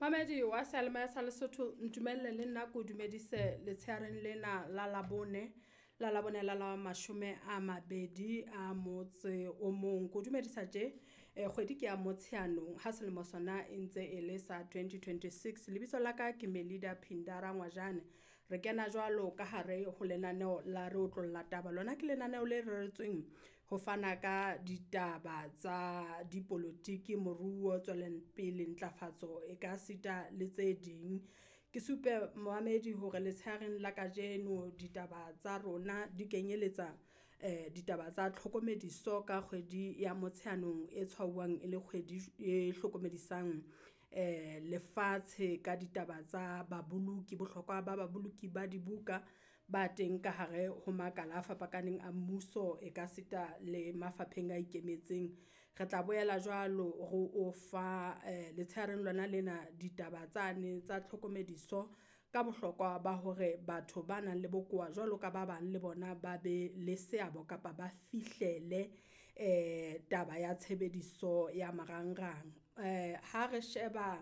Mamedi wa seyalemoya sa Lesotho ntumelle le nna ko dumedise letsheareng lena la Labone, la Labone la la mashome a mabedi a motse o mong. Ko dumedisa tje kgwedi ke ya Motsheanong ha selemo sona e ntse e le sa 2026. Lebitso la ka ke Melida Phindara Ngwajane. Re kena jwalo ka hare ho lenaneo la re otlolla taba. Lona ke lenaneo le reretsweng ho fana ka ditaba tsa dipolotiki, moruo, tswelengpele, ntlafatso e ka sita le tse ding. Ke supe momamedi hore letsheareng la kajeno ditaba tsa rona di kenyeletsa ditaba tsa tlhokomediso ka kgwedi ya Motsheanong e tshwauwang e le kgwedi e hlokomedisang lefatshe ka ditaba tsa baboloki, bohlokwa ba baboloki ba dibuka ba teng ka hare ho makala a fapakaneng a mmuso e ka sita le mafapheng a ikemetseng. Re tla boela jwalo ro o fa letsheareng lona lena ditaba tsane tsa tlhokomediso ka bohlokwa ba hore batho ba nang le bokowa jwalo ka ba bang le bona ba be le seabo kapa ba fihlele taba ya tshebediso ya marangrang. Ha re sheba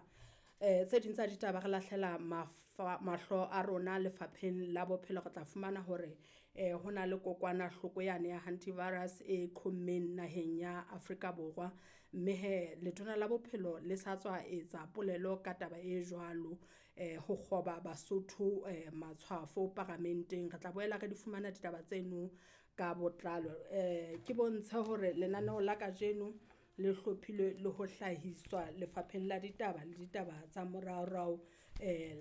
tse ding tsa ditaba re lahlela mahlo a rona lefapheng la bophelo, re tla fumana hore hona le kokwanahloko yane ya hantivirus e qhommeng naheng ya Afrika Borwa. Mme hee letona la bophelo le sa tswa etsa polelo ka taba e jwalo ho kgoba Basotho matshwafo paramenteng. Re tla boela re di fumana ditaba tseno ka botlalo. Ke bontshe hore lenaneo la kajeno le hlophilwe le ho hlahiswa lefapheng la ditaba le ditaba tsa moraorao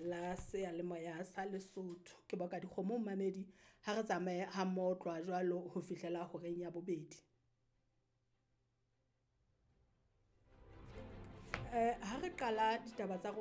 la seyalemoya sa Lesotho. Ke boka dikgomo momamedi ha re tsamaye ha mmoho ho tloha jwalo ho fihlela horeng ya bobedi. Ha re qala ditaba tsa rona.